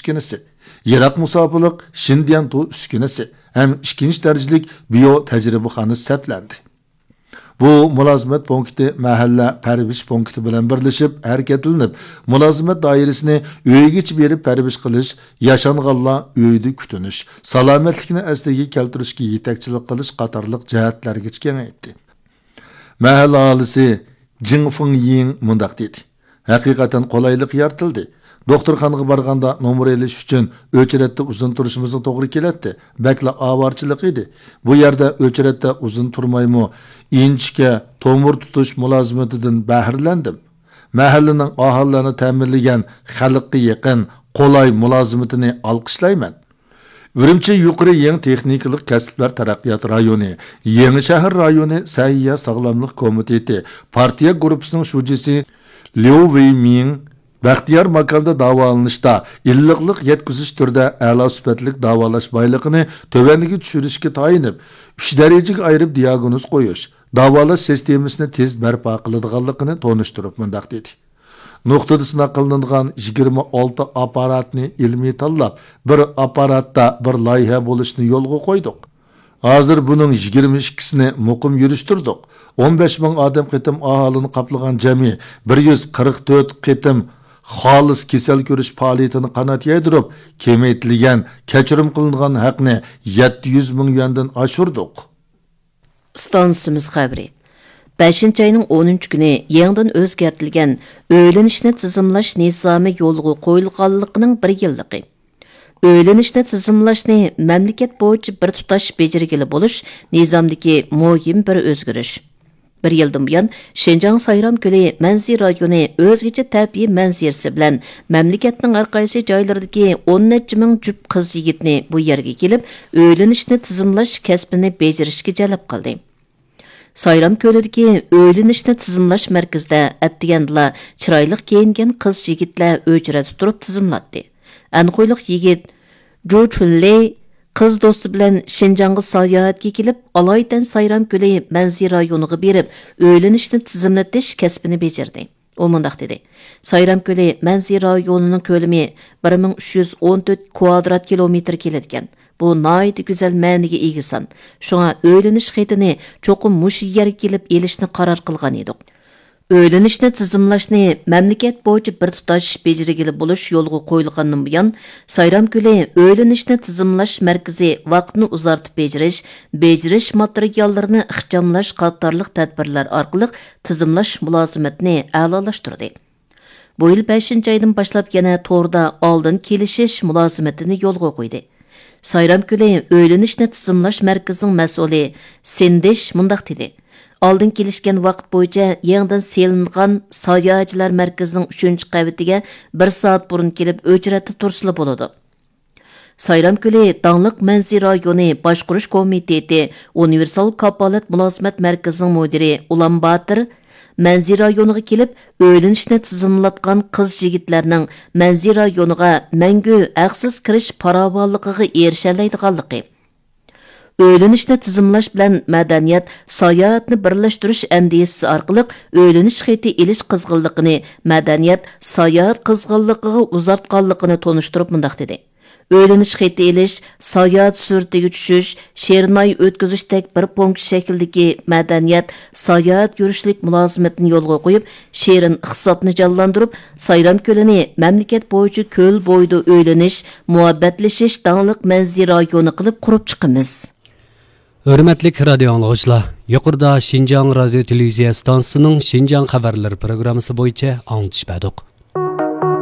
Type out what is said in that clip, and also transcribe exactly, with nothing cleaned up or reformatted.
ئۈسكۈنىسى، يىراق مۇساپىلىق شىنديەنتۇ ئۈسكۈنىسى ھەم ئىككىنچى دەرىجىلىك بىيو تەجرىبىخانىسى سەپلەندى. بۇ مۇلازىمەت پونكىتى مەھەللە پەرۋىش پونكىتى بىلەن بىرلىشىپ ھەرىكەتلىنىپ، مۇلازىمەت دائىرىسىنى ئۆيگىچە بېرىپ پەرۋىش قىلىش، ياشانغانلار ئۆيىدە كۈتۈنۈش، سالامەتلىكنى ئەسلىگە كەلتۈرۈشكە يېتەكچىلىك قىلىش قاتارلىق جەھەتلەرگىچە كېڭەيتتى. مەھەللە ئاھالىسى جىڭ فېڭيىڭ مۇنداق دېدى: ھەقىقەتەن قولايلىق يارىتىلدى. دوختۇرخانىغا بارغاندا نومۇر ئېلىش ئۈچۈن ئۆچرەتتە ئۇزۇن تۇرۇشىمىزغا توغرا كېلەتتى. بەكلا ئاۋارىچىلىق ئىدى. بۇ يەردە ئۆچرەتتە ئۇزۇن تۇرمايمۇ، ئىنچىكە تومۇر تۇتۇش مۇلازىمىتىدىن بەھرىلەندىم. مەھەللىنىڭ ئاھالىلەرنى تەمىنلىگەن خەلققە يېقىن، قولاي مۇلازىمىتىنى ئالقىشلايمەن. ئۈرۈمچى يۇقىرى يېڭى تېخنىكىلىق كەسىپلەر تەرەققىيات رايونى، يېڭى شەھەر رايونى سەھىيە ساغلاملىق كومىتېتى پارتىيە گۇرۇپپىسىنىڭ شۇجىسى ليۇ ۋېيمىڭ بەختىيار ماكاندا داۋالىنىشتا ئىللىقلىق يەتكۈزۈش تۈرىدە ئەلا سۈپەتلىك داۋالاش بايلىقىنى تۆۋەنگە چۈشۈرۈشكە تايىنىپ، ئۈچ دەرىجىگە ئايرىپ دىياگنوز قويۇش، داۋالاش سىستېمىسىنى تېز بەرپا قىلىدىغانلىقىنى تونۇشتۇرۇپ مۇنداق دېدى: نۇقتىدا سىناق قىلىنىدىغان يىگىرمە ئالتە ئاپپاراتنى ئىلمىي تاللاپ، بىر ئاپپاراتتا بىر لايىھە بولۇشنى يولغا قويدۇق. ھازىر بۇنىڭ يىگىرمە ئىككىسىنى مۇقىم يۈرۈشتۈردۇق. ئون بەش مىڭ ئادەم قېتىم ئاھالىنى قاپلىغان جەمئىي بىر يۈز قىرىق تۆت قېتىم خالىس كېسەل كۆرۈش پائالىيىتىنى قانات يايدۇرۇپ، كېمەيتىلگەن، كەچۈرۈم قىلىنغان ھەقنى يەتتە يۈز مىڭ يۈەندىن ئاشۇردۇق. ئىستانسىمىز خەۋىرى. بەشىنچى ئاينىڭ ئونىنچى كۈنى يېڭىدىن ئۆزگەرتىلگەن ئۆيلىنىشنى تىزىملاش نىزامى يولغا قويۇلغانلىقىنىڭ بىر يىللىقى. ئۆيلىنىشنى تىزىملاشنى مەملىكەت بويىچە بىر تۇتاش بېجىرگىلى بولۇش نىزامدىكى مۇھىم بىر ئۆزگىرىش. بىر يىلدىن بۇيان، شىنجاڭ سايرامكۆلى مەنزىرە رايونى ئۆزگىچە تەبىئىي مەنزىرىسى بىلەن مەملىكەتنىڭ ھەر قايسى جايلىرىدىكى ئون نەچچە مىڭ جۈپ قىز يىگىتنى بۇ يەرگە كېلىپ، ئۆيلىنىشنى تىزىملاش كەسپىنى بېجىرىشكە جەلپ قىلدى. سايرام كۆلىدىكى ئۆيلىنىشنى تىزىملاش مەركىزىدە ئەتىگەندىلا چىرايلىق كىيىنگەن قىز يىگىتلەر ئۆچرەتتە تۇرۇپ تىزىملاتتى. ئەنخۇيلۇق يىگىت جۇ چۈنلېي قىز دوستى بىلەن شىنجاڭغا ساياھەتكە كېلىپ، ئالايىتەن سايرام كۆلى مەنزىرە رايونىغا بېرىپ، ئۆيلىنىشنى تىزىملىتىش كەسپىنى بېجىردى. ئۇ مۇنداق دېدى: سايرام كۆلى مەنزىرە رايونىنىڭ كۆلىمى بىر مىڭ ئۈچ يۈز ئون تۆت كىلومېتىر كېلىدىكەن. بۇ ناھايىتى گۈزەل مەنىگە ئىگە سان. شۇڭا ئۆيلىنىش خېتىنى چوقۇم مۇشۇ يەرگە كېلىپ ئېلىشنى قارار قىلغان ئىدۇق. ئۆيلىنىشنى تىزىملاشنى مەملىكەت بويىچە بىر تۇتاش بېجىرگىلى بولۇش يولغا قويۇلغاندىن بۇيان، سايرام كۆلى ئۆيلىنىشنى تىزىملاش مەركىزى ۋاقىتنى ئۇزارتىپ بېجىرىش، بېجىرىش ماتېرىياللىرىنى ئىخچاملاش قاتارلىق تەدبىرلەر ئارقىلىق تىزىملاش مۇلازىمىتىنى ئەلالاشتۇردى. بۇ يىل بەشىنچى ئايدىن باشلاپ يەنە توردا ئالدىن كېلىشىش مۇلازىمىتىنى يولغا قويدى. سايرام كۆلى ئۆيلىنىشنى تىزىملاش مەركىزىنىڭ مەسئۇلى سىندىش مۇنداق دېدى: ئالدىن كېلىشكەن ۋاقىت بويىچە يېڭىدىن سېلىنغان ساياھەتچىلەر مەركىزىنىڭ ئۈچىنچى قەۋىتىگە بىر سائەت بۇرۇن كېلىپ ئۆچرەتتە تۇرسىلا بولىدۇ. سايرام كۆلى داڭلىق مەنزىرە رايونى باشقۇرۇش كومىتېتى ئۇنىۋېرسال كاپالەت مۇلازىمەت مەركىزىنىڭ مۇدىرى ئۇلان باتىر مەنزىرە رايونىغا كېلىپ، ئۆيلىنىشنى تىزىملاتقان قىز يىگىتلەرنىڭ مەنزىرە رايونىغا مەڭگۈ ھەقسىز كىرىش پاراۋانلىقىغا ئېرىشەلەيدىغانلىقى، ئۆيلىنىشنى تىزىملاش بىلەن مەدەنىيەت، ساياھەتنى بىرلەشتۈرۈش ئەندىزىسى ئارقىلىق ئۆيلىنىش خېتى ئېلىش قىزغىنلىقىنى مەدەنىيەت، ساياھەت قىزغىنلىقىغا ئۇزارتقانلىقىنى تونۇشتۇرۇپ مۇنداق دېدى: ئۆيلىنىش خېتى ئېلىش، ساياھەت سۈرئىتىگە چۈشۈش، شېرىن ئاي ئۆتكۈزۈشتەك بىر پونكىت شەكلىدىكى مەدەنىيەت، ساياھەت يۈرۈشلۈك مۇلازىمىتىنى يولغا قويۇپ، شېرىن ئىقتىسادنى جانلاندۇرۇپ، سايرام كۆلىنى مەملىكەت بويىچە كۆل بويىدا ئۆيلىنىش، مۇھەببەتلىشىش داڭلىق مەنزىرە رايونى قىلىپ قۇرۇپ چىقىمىز. ھۆرمەتلىك رادىيو ئاڭلىغۇچىلار، يۇقىرىدا شىنجاڭ رادىيو تېلېۋىزىيە ئىستانسىسىنىڭ شىنجاڭ خەۋەرلىرى پروگراممىسى بويىچە ئاڭلىتىش بەردۇق.